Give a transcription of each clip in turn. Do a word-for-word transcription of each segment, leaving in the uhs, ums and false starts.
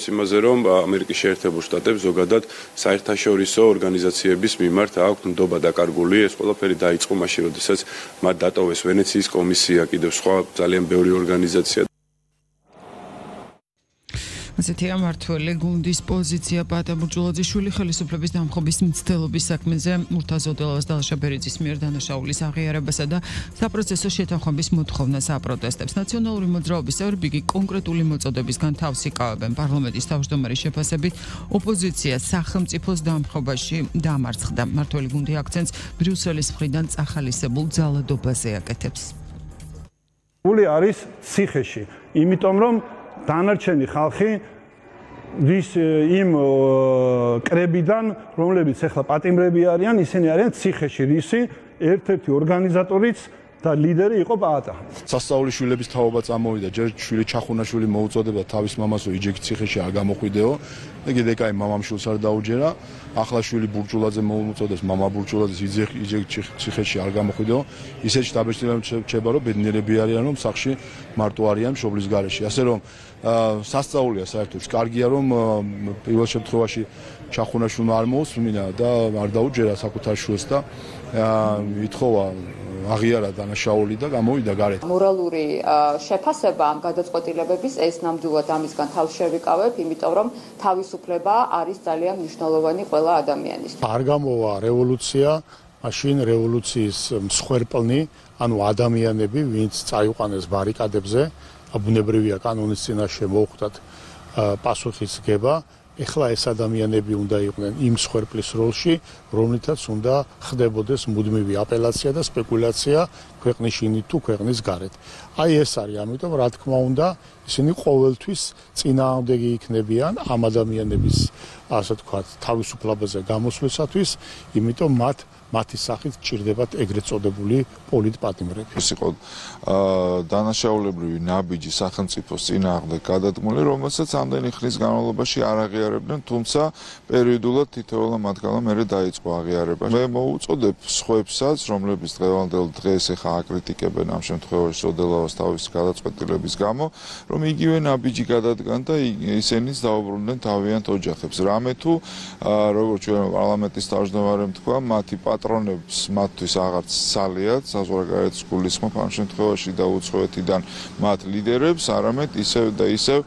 იმაზე რომ ამერიკის შეერთებულ შტატებს ზოგადად საერთაშორისო ორგანიზაციების მიმართ აქვთ ნდობა დაკარგული, ეს ყველაფერი დაიწყო მაშინ, როდესაც მათ დატოვეს ვენეციის კომისია, კიდევ სხვა ძალიან ბევრი ორგანიზაცია. ასეთია მმართველი გუნდის პოზიცია პატა ბურჯულაძიშვილი ხელისუფლების დამხობის მცდელობის საქმეზე მურთაზ-ოდელავას და ალშაბერიძის მიერ დანაშაულის აღიარებასა და საპროცესო შეთანხმების მოთხოვნას აპროტესტებს. ნაციონალური მოძრაობის წევრები კონკრეტული მოწოდებისგან თავს იკავებენ. პარლამენტის თავმჯდომარის შეფასებით ოპოზიცია სახელმწიფოს დამხობაში დამარცხდა. მმართველი გუნდი აქცენტს ბრიუსელის მხრიდან წახალისებულ ძალადობაზე აკეთებს. გული არის ციხეში, იმიტომ რომ დანარჩენი ხალხი ვის იმ კრებიდან, რომლებიც ახლა პატიმრები არიან, ისინი არიან ციხეში, რისი ერთ-ერთი ორგანიზატორიც და ლიდერი იყო პაატა. სასწაულის შვილების თაობა წამოვიდა, ჯერ შვილი ჩახუნაშვილი მოუწოდება თავის მამასო იჯექი ციხეში არ გამოხვიდეო. ეგ ეკაი მამამშვილს არ დაუჯერა. ახლა შვილი ბურჯულაძე მოუწოდებს მამა ბურჯულაძეს იჯექი ციხეში არ გამოხვიდეო. ისეთ შტაბეჭდილებამ რჩება, რომ ბედნიერები არიან, რომ სახში მარტო არიან მშობლის გარეშე. ასე რომ სასწაულია საერთოდ კარგია, რომ პირველ შემთხვევაში ჩახუნაშვილმა არ მოусმინა და არ დაუჯერა საკუთარ შვილს და ითხოვა აღიარა დანაშაული და გამოვიდა გარეთ. მორალური შეფასება ამ გადაწყვეტილებების ეს ნამდვილად ამისგან თავს შევიკავებ, იმიტომ რომ თავისუფლება არის ძალიან მნიშვნელოვანი ყველა ადამიანის. არ გამოვა რევოლუცია, მაშინ რევოლუციის მსხვერპლნი, ანუ ადამიანები, ვინც წაიყვანეს ბარიკადებზე, ბუნებრივია კანონის წინაშე მოუხდათ პასუხის გება. ეხლა ეს ადამიანები უნდა იყვნენ იმ მსხვერპლის როლში, რომლითაც უნდა ხდებოდეს მუდმივი აპელაცია და სპეკულაცია ქვეყნის შინით თუ ქვეყნის გარეთ. აი ეს არის, ამიტომ რა თქმა უნდა, ისინი ყოველთვის წინააღმდეგი იქნებიან ამ ადამიანების, ასე ვთქვათ, თავისუფლებაზე გამოსვლისათვის, იმიტომ მათ მათი სახით ჭირდებათ ეგრეთ წოდებული პოლიტპატიმრები. ეს იყო დანაშაულებრივი ნაბიჯი სახელმწიფოს წინააღმდეგ გადადგმული, რომელსაც ამდენი ხნის განმავლობაში არ აღიარებდნენ, თუმცა პერიოდულად თითოეულ მათგანმა მერე დაიწყო აღიარება. მე მოუწოდებ სხვებსაც, რომლებიც დღევანდელ დღეს ეხა აკრიტიკებენ ამ შემთხვევაში ოდელავას თავის გადაწყვეტილების გამო, რომ იგივე ნაბიჯი გადადგან და ისინიც დაუბრუნდნენ თავიანთ ოჯახებს. რამე თუ როგორც ჩვენ პარლამენტის თავმჯდომარემ თქვა, მათი პატრონებს მათთვის აღარც სალიათ საზღვარგარეთის გულისხმობ ამ შემთხვევაში და უცხოეთიდან მათ ლიდერებს, არამედ ისევ და ისევ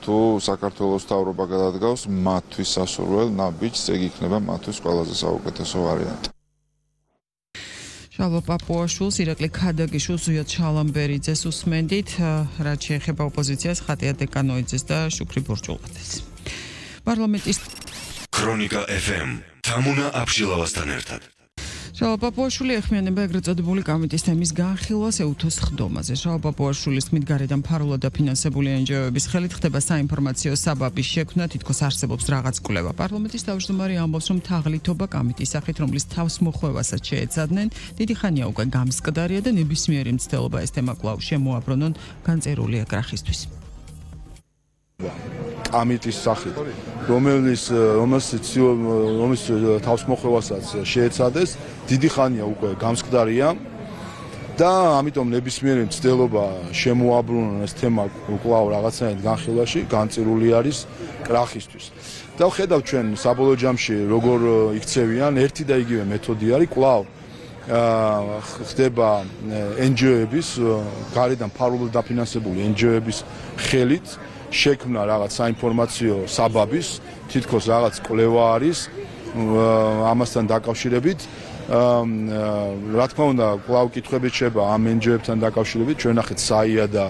თუ საქართველოს მთავრობა გადადგავს მათთვის სასურველ ნაბიჯს, ეგ იქნება მათთვის ყველაზე საუკეთესო ვარიანტი. შალვა პაპუაშვილს, ირაკლი ქადაგიშვილს, ზუია ჩალამბერიძეს უსმენდით, რაც შეეხება ოპოზიციას, ხატია დეკანოიძეს და შუქრი ბურჯულაძეს. პარლამენტის ქრონიკა ეფ ემ თამუნა აფშილავასთან ერთად. შალვა პაპუაშვილი ეხმიანება ეგრეთ წოდებული კომიტის თემის განხილვას ეუთოს ხდომაზე. შალვა პაპუაშვილის თქმით, გარედან ფარულად დაფინანსებული ენჯოების ხელით ხდება საინფორმაციო საბაბის შექმნა, თითქოს არსებობს რაღაც კვლევა. პარლამენტის თავმჯდომარე ამბობს, რომ თაღლითობა კომიტის სახით, რომლის თავს მოხვევასაც შეეცადნენ, დიდი ხანია უკვე გამსკდარია და ნებისმიერი მცდელობა ეს თემა კვლავ შემოაბრუნონ განწერული ეკრახისთვის. კომიტის სახით, რომელიც რომელსაც რომლის თავსმოხვევასაც შეეცადეს, დიდი ხანია უკვე გამსკდარია და ამიტომ ნებისმიერი მცდელობა შემოაბრუნონ ეს თემა კვლავ რაღაცნაირად განხილვაში, განწირული არის კრახისთვის. და ვხედავ ჩვენ საბოლოო ჯამში როგორ იქცევიან, ერთი და იგივე მეთოდი არის კვლავ ხდება ენჯოების, გარედან ფარულად დაფინანსებული ენჯოების ხელით შექმნა რაღაც საინფორმაციო საბაბის, თითქოს რაღაც კვლევა არის ამასთან დაკავშირებით. რა თქმა უნდა, კვლავ კითხვები შეება ამ ენჯოებთან დაკავშირებით, ჩვენ ნახეთ საია და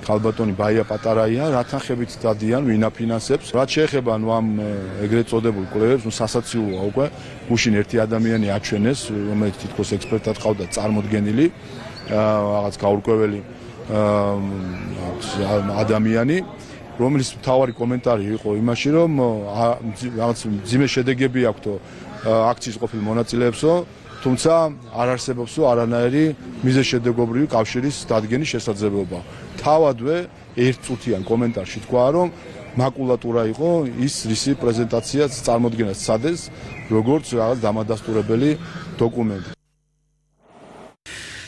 ქალბატონი ბაია პატარაია, რა თანხებით დადიან, ვინ აფინანსებს. რაც შეეხება ნუ ამ ეგრეთ წოდებულ კვლევებს, ნუ სასაცილოა უკვე, გუშინ ერთი ადამიანი აჩვენეს, რომელიც თითქოს ექსპერტად ყავდა წარმოდგენილი, რაღაც გაურკვეველი ადამიანი, რომლის მთავარი კომენტარი იყო იმაში, რომ რაღაც მძიმე შედეგები აქვთო აქციის ყოფილ მონაწილეებსო, თუმცა არ არსებობსო არანაირი მიზეშედეგობრივი კავშირის დადგენის შესაძლებლობა. თავადვე ერთწუთიან კომენტარში თქვა, რომ მაკულატურა იყო ის რისი პრეზენტაციაც წარმოდგენას სცადეს, როგორც რაღაც დამადასტურებელი დოკუმენტი.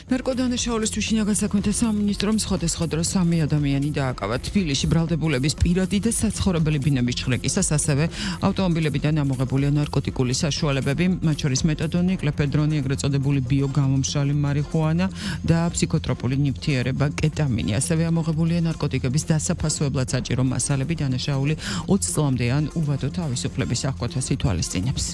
ნარკოდანაშაულისთვის შინაგან საქმეთა სამინისტრომ სხვადასხვა დროს სამი ადამიანი დააკავა. თბილისში ბრალდებულების პირადი და საცხოვრებელი ბინების ჩხრეკისას, ასევე ავტომობილებიდან ამოღებულია ნარკოტიკული საშუალებები, მათ შორის მეტადონი, კლეფედრონი, ეგრეთ წოდებული ბიოგამომშრალი მარიხუანა და ფსიქოტროპული ნივთიერება კეტამინი. ასევე ამოღებულია ნარკოტიკების დასაფასოებლად საჭირო მასალები. დანაშაული ოცი წლამდე ან უვადო თავისუფლების აღკვეთას ითვალისწინებს.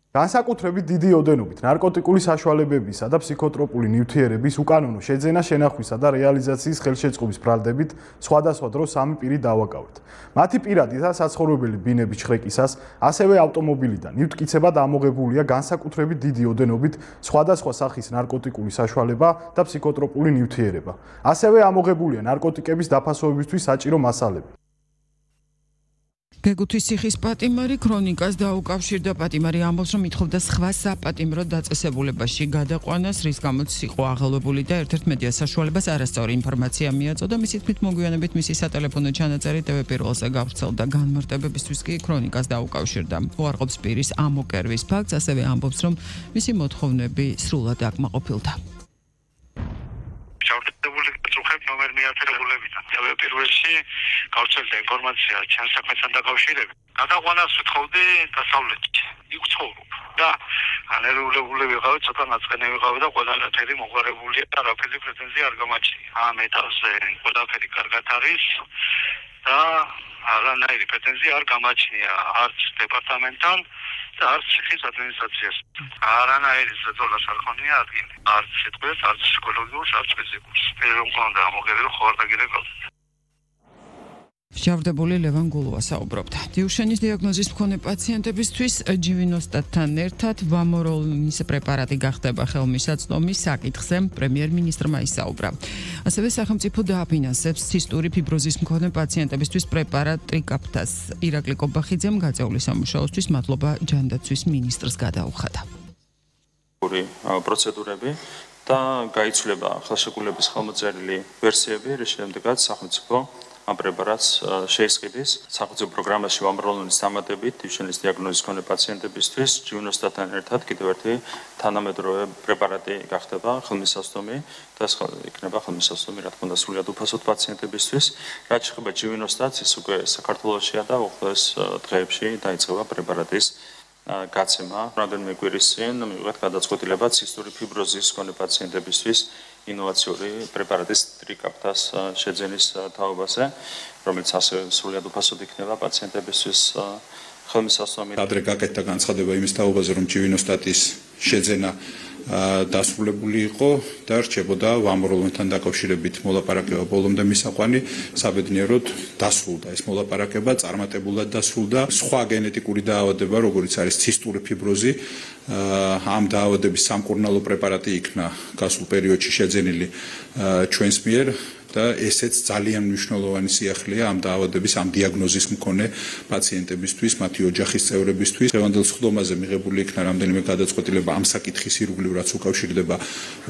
განსაკუთრებით დიდი ოდენობით ნარკოტიკული საშუალებებისა და ფსიქოტროპული ნივთიერების უკანონო შეძენა, შენახვისა და რეალიზაციის ხელშეწყობის ბრალდებით სხვადასხვა დროს სამი პირი დავაკავეთ. მათი პირადი და საცხოვრებელი ბინების ჩხრეკისას, ასევე ავტომობილიდან ნივთკიცებად ამოღებულია განსაკუთრებით დიდი ოდენობით სხვადასხვა სახის ნარკოტიკული საშუალება და ფსიქოტროპული ნივთიერება. ასევე ამოღებულია ნარკოტიკების დაფასოებისთვის საჭირო მასალები. გეგუთის ციხის პატიმარი ქრონიკას დაუკავშირდა. პატიმარი ამბობს, რომ ითხოვდა სხვა საპატიმრო დაწესებულებაში გადაყვანას, რის გამოც იყო აღელვებული და ერთ-ერთ მედია საშუალებას არასწორი ინფორმაცია მიაწოდა. მისი თქმით, მოგვიანებით მისი სატელეფონო ჩანაწერი ტევ პირველზე გავრცელდა. განმარტებებისთვის კი ქრონიკას დაუკავშირდა. უარყოფს პირის ამოკერვის ფაქტს, ასევე ამბობს, რომ მისი მოთხოვნები სრულად აკმაყოფილდა. ჩავწერებული წუხები ნომერ მიათერებულებიდან. თავი პირველში გავრცელდა ინფორმაცია ჩემს საქმესთან დაკავშირებით. გადაყვანას ვთხოვდი დასავლეთში. იქ ცხოვრობ და ანერეულებული ვიყავი, ცოტა ნაწყენი ვიყავი და ყველანაირი მოგვარებულია და რაფერი პრეტენზია არ გამაჩნია. ამ ეტაპზე ყველაფერი კარგად არის და არანაირი პრეტენზია არ გამაჩნია არც დეპარტამენტთან და არც ციხის ადმინისტრაციას. არანაირი ზეწოლას არ ხონია ადგილი. არც სიტყვას, არც ფსიქოლოგიურს, არც ფიზიკურს. პირველ მქონდა ამოღებული ხო არ დაგირეკავთ. შავდებული ლევან გულუა საუბრობდა. დიუშენის დიაგნოზის მქონე პაციენტებისთვის ჯივინოსტატთან ერთად ვამოროლის პრეპარატი გახდება ხელმისაწვდომი. საკითხზე პრემიერ-მინისტრმა ისაუბრა. ასევე სახელმწიფო დააფინანსებს ცისტური ფიბროზის მქონე პაციენტებისთვის პრეპარატ ტრიკაფტას. ირაკლი კობახიძემ გაწეული სამუშაოსთვის მადლობა ჯანდაცვის მინისტრს გადაუხადა. პროცედურები და გაიცვლება ხელშეკრულების ხელმოწერილი ვერსიები, რის შემდეგაც სახელმწიფო ამ პრეპარატს შეისყიდის. სახელმწიფო პროგრამაში ვამროლონის დამატებით დიუშენის დიაგნოზის მქონე პაციენტებისთვის ჯივინოსტატთან ერთად კიდევ ერთი თანამედროვე პრეპარატი გახდება ხელმისაწვდომი და ეს იქნება ხელმისაწვდომი, რა თქმა უნდა, სრულად უფასოდ პაციენტებისთვის. რაც შეეხება ჯივინოსტატს, ის უკვე საქართველოშია და უახლოეს დღეებში დაიწყება პრეპარატის გაცემა. რამდენიმე კვირის წინ მივიღეთ გადაწყვეტილება ცისტური ფიბროზის მქონე პაციენტებისთვის ინოვაციური პრეპარატის ტრიკაფტას შეძენის თაობაზე, რომელიც ასევე სრულად უფასოდ იქნება პაციენტებისთვის ხელმისაწვდომი. ადრე გაკეთდა განცხადება იმის თაობაზე, რომ ჯივინოსტატის შეძენა დასრულებული იყო და რჩებოდა ვამროლონთან დაკავშირებით მოლაპარაკება ბოლომდე მისაყვანი. საბედნიეროდ დასრულდა ეს მოლაპარაკება, წარმატებულად დასრულდა. სხვა გენეტიკური დაავადება, როგორც არის ცისტური ფიბროზი, ამ დაავადების სამკურნალო პრეპარატი იქნა გასულ პერიოდში შეძენილი ჩვენს მიერ და ესეც ძალიან მნიშვნელოვანი სიახლეა ამ დაავადების, ამ დიაგნოზის მქონე პაციენტებისთვის, მათი ოჯახის წევრებისთვის. დღევანდელ სხდომაზე მიღებული იქნა რამდენიმე გადაწყვეტილება ამ საკითხის ირგვლივ, რაც უკავშირდება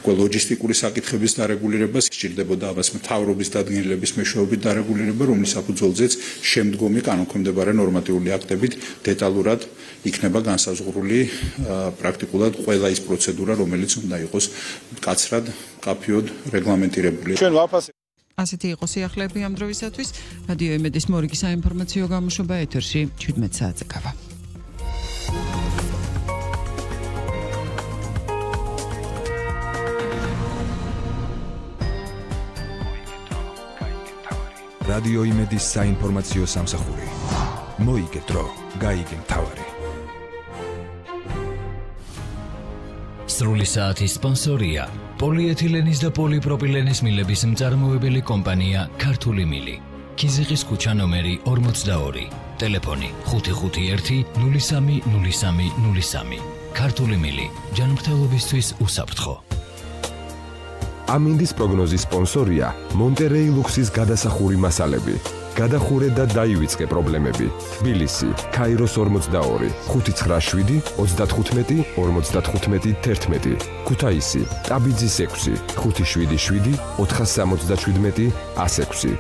უკვე ლოჯისტიკური საკითხების დარეგულირებას, სჭირდებოდა ამას მთავრობის დადგენილების მეშვეობით დარეგულირება, რომლის საფუძველზეც შემდგომი კანონქვემდებარე ნორმატიული აქტებით დეტალურად იქნება განსაზღვრული პრაქტიკულად ყველა ის პროცედურა, რომელიც უნდა იყოს მკაცრად, მკაფიოდ რეგლამენტირებული. ჩვენ ვაფასებთ ასეთი იყო სიახლეები ამ დროისათვის. რადიო იმედის მორიგი საინფორმაციო გამოშვება ეთერში შვიდმეტ საათზე გავა. რადიო იმედის საინფორმაციო სამსახური. მოიგე დრო, გაიგე მთავარი. სრული საათის სპონსორია პოლიეთილენის და პოლიპროპილენის მილების მწარმოებელი კომპანია ქართული მილი. ქიზიყის ქუჩა ნომერი ორმოცდაორი. ტელეფონი ხუთი ხუთი ერთი ნული სამი ნული სამი ნული სამი. ქართული მილი. ჯანმრთელობისთვის უსაფრთხო. ამინდის პროგნოზის სპონსორია მონტერეი ლუქსის გადასახური მასალები. გადახურე და დაივიწყე პრობლემები. თბილისი, ქაიროს ორმოცდაორი, ხუთი ცხრა შვიდი ოცდათხუთმეტი ორმოცდათხუთმეტი თერთმეტი. ქუთაისი, ტაბიძის ექვსი, ხუთი შვიდი შვიდი ოთხასამოცდაშვიდმეტი ასექვსი.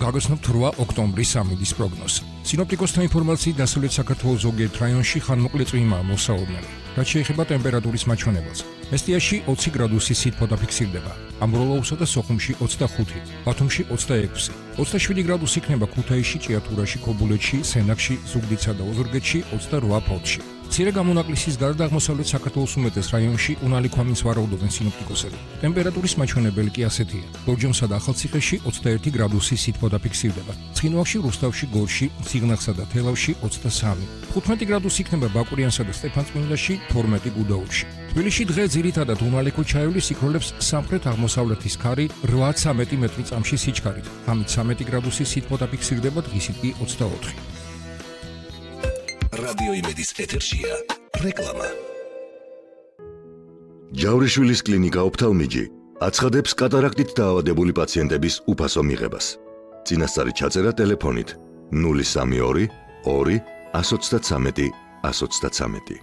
გაგაცნობთ რვა ოქტომბრის ამინდის პროგნოზი. სინოპტიკოსთა ინფორმაციით დასავლეთ საქართველოს ზოგიერთ რაიონში ხანმოკლე წვიმაა მოსაუბნელი. რაც შეეხება ტემპერატურის მაჩვენებელს. მესტიაში ოცი გრადუსი სითბო დაფიქსირდება. ამბროლაუსა და სოხუმში ოცდახუთი, ბათუმში ოცდაექვსი, ოცდაშვიდი გრადუსი იქნება ქუთაისში, ჭიათურაში, ქობულეთში, სენაკში, ზუგდიდსა და ოზურგეთში, ოცდარვა ფოთში. მცირე გამონაკლისის გარდა აღმოსავლეთ საქართველოს უმეტეს რაიონში უნალი ქვამინს ვარაუდობენ სინოპტიკოსები. ტემპერატურის მაჩვენებელი კი ასეთია. ლორჯონსა და ახალციხეში ოცდაერთი გრადუსი სითბო დაფიქსირდება. ცხინვალში, რუსთავში, გორში, ციგნახსა და თელავში ოცდასამი. თხუთმეტი გრადუსი იქნება ბაკურიანსა და სტეფანწმინდაში, თორმეტი გუდაურში. თბილისში დღე ძირითადად უნალი ქუჩაეული სიქროლებს სამხრეთ აღმოსავლეთის ქარი რვა ცამეტი მეტრი წამში სიჩქარით. ღამით ცამეტი გრადუსი სითბო დაფიქსირდება, დღისით კი ოცდაოთხი. რადიო იმედის ეთერშია რეკლამა. ჯავრიშვილის კლინიკა ოფთალმიჯი აცხადებს კატარაქტით დაავადებული პაციენტების უფასო მიღებას. წინასწარი ჩაწერა ტელეფონით ნული სამი ორი ორი ათს ოცდათვრამეტი ათს ოცდათვრამეტი.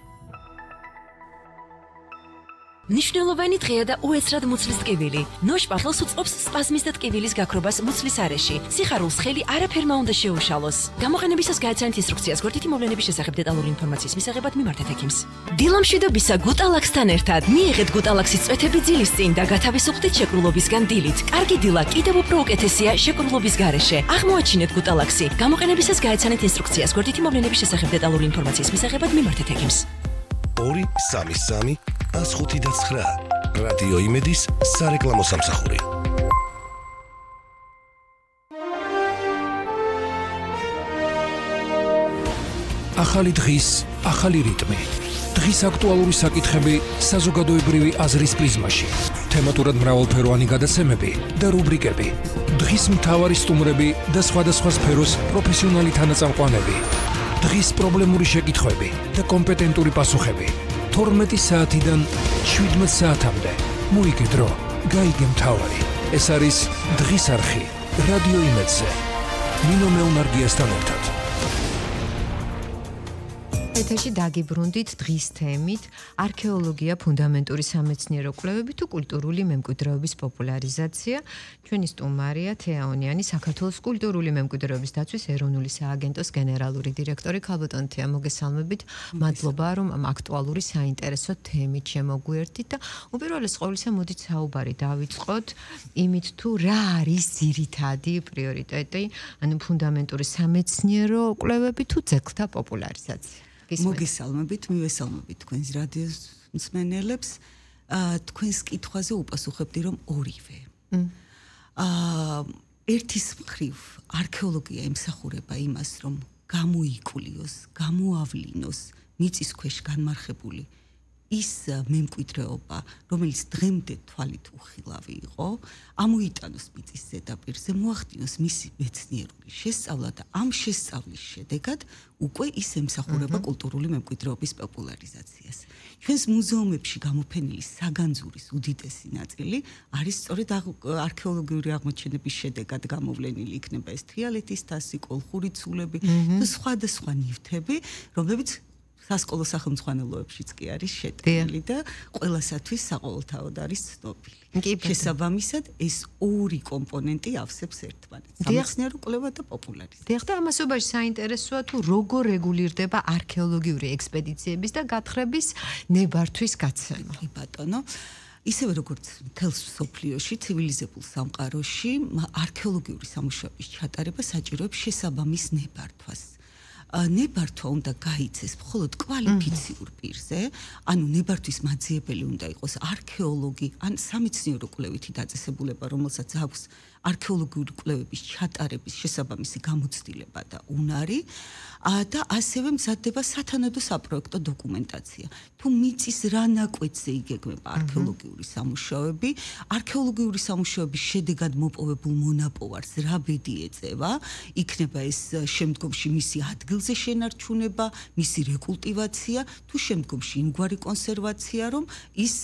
მნიშვნელოვანი დღეა და უეცრად მუცლის ტკივილი. ნოშ პახელს უწყობს სპაზმის და ტკივილის გაქრობას მუცლის არეში. სიხარულს ხელი არაფერმა უნდა შეუშალოს. გამოყენებისას გააცანეთ ინსტრუქციას გვერდითი მოვლენების შესახებ დეტალური ინფორმაციის მისაღებად მიმართეთ ექიმს. დილამშვიდობისა გუტალაქსთან ერთად მიიღეთ გუტალაქსის წვეთები ძილის წინ და გათავისუფლდით შეკრულობისგან დილით. კარგი დილა კიდევ უფრო უკეთესია შეკრულობის გარეშე. აღმოაჩინეთ გუტალაქსი. გამოყენებისას გააცანეთ ინსტრუქციას გვერდითი მოვლენების შესახებ დეტალური ინფორმაციის მისაღებად მიმართეთ ექიმს. ორი სამი სამი ას ხუთი და ცხრა რადიო იმედის სარეკლამო სამსახური. ახალი დღის, ახალი რიტმი. დღის აქტუალური საკითხები საზოგადოებრივი აზრის პრიზმაში. თემატურად მრავალფეროვანი გადაცემები და რუბრიკები. დღის მთავარი სტუმრები და სხვადასხვა სფეროს პროფესიონალი თანაწამყვანები. დღის პრობლემური შეკითხვები და კომპეტენტური პასუხები. თორმეტი საათიდან შვიდმეტ საათამდე. მოიგე დრო, გაიგე მთავარი. ეს არის დღის არხი რადიო იმედზე. ნინო მეუნარგიასთან ერთად. ეთერში დაგიბრუნდით დღის თემით არქეოლოგია, ფუნდამენტური სამეცნიერო კვლევები თუ კულტურული მემკვიდრეობის პოპულარიზაცია. ჩვენი სტუმარია თეაონიანი, საქართველოს კულტურული მემკვიდრეობის დაცვის ეროვნული სააგენტოს გენერალური დირექტორი. ქალბატონ თეა, მოგესალმებით. მადლობა რომ ამ აქტუალური საინტერესო თემით შემოგვიერთით და უპირველეს ყოვლისა მოდით საუბარი დავიწყოთ იმით თუ რა არის ძირითადი პრიორიტეტი, ანუ ფუნდამენტური სამეცნიერო კვლევები თუ ძეგლთა პოპულარიზაცია. მოგესალმებით, მივესალმებით თქვენს რადიოს მსმენელებს. თქვენს კითხვაზე უპასუხებდი რომ ორივე. აა ერთის მხრივ არქეოლოგია ემსახურება იმას, რომ გამოიკულიოს, გამოავლინოს მიწის ქვეშ განმარხებული ის მემკვიდრეობა, რომელიც დღემდე თვალით უხილავი იყო, ამოიტანოს მიწის ზედაპირზე, მოახდინოს მისი მეცნიერული შესწავლა და ამ შესწავლის შედეგად უკვე ის ემსახურება კულტურული მემკვიდრეობის პოპულარიზაციას. ჩვენს მუზეუმებში გამოფენილი საგანძურის უდიდესი ნაწილი არის სწორედ არქეოლოგიური აღმოჩენების შედეგად გამოვლენილი, იქნება ეს თრიალეთის თასი, კოლხური ცულები და სხვადასხვა ნივთები, რომლებიც სასკოლო სახელმძღვანელოებშიც კი არის შეტანილი და ყველასათვის საყოველთაოდ არის ცნობილი. შესაბამისად, ეს ორი კომპონენტი ავსებს ერთმანეთს. სამეცნიერო კვლევა და პოპულარიზაცია. დიახ, და ამასობაში საინტერესოა თუ როგორ რეგულირდება არქეოლოგიური ექსპედიციების და გათხრების ნებართვის გაცემა. კი ბატონო, ისევე როგორც მთელს მსოფლიოში, ცივილიზებულ სამყაროში, არქეოლოგიური სამუშაოების ჩატარება საჭიროებს შესაბამის ნებართვას. ნებართვა უნდა გაიცეს მხოლოდ კვალიფიციურ პირზე, ანუ ნებართვის მაძიებელი უნდა იყოს არქეოლოგი ან სამეცნიერო კვლევითი დაწესებულება, რომელსაც აქვს არქეოლოგიური კვლევების ჩატარების შესაბამისი გამოცდილება და უნარი და ასევე მზადდება სათანადო საპროექტო დოკუმენტაცია. თუ მიწის რა ნაკვეთზე იგეგმება არქეოლოგიური სამუშაოები, არქეოლოგიური სამუშაოების შედეგად მოპოვებულ მონაპოვარს რა ბედი ეწევა, იქნება ეს შემდგომში მისი ადგილზე შენარჩუნება, მისი რეკულტივაცია, თუ შემდგომში იმგვარი კონსერვაცია, რომ ის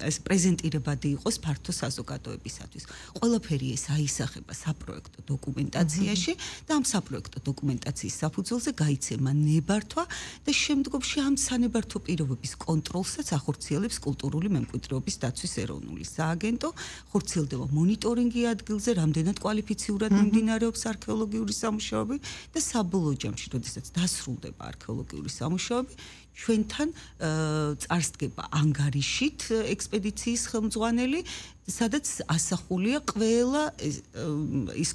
ეს პრეზენტირებადი იყოს ფართო საზოგადოებისათვის. ყველაფერი ეს არის აისახება საპროექტო დოკუმენტაციაში და ამ საპროექტო დოკუმენტაციის საფუძველზე გაიცემა ნებართვა და შემდგომში ამ სანებართვო პირობების კონტროლსაც ახორციელებს კულტურული მემკვიდრეობის დაცვის ეროვნული სააგენტო, ხორციელდება მონიტორინგი ადგილზე, რამდენად კვალიფიციურად მიმდინარეობს არქეოლოგიური სამუშაოები და საბოლოო ჯამში, როდესაც დასრულდება არქეოლოგიური სამუშაოები, ჩვენთან წარსდგება ანგარიშით ექსპედიციის ხელმძღვანელი, სადაც ასახულია ყველა ის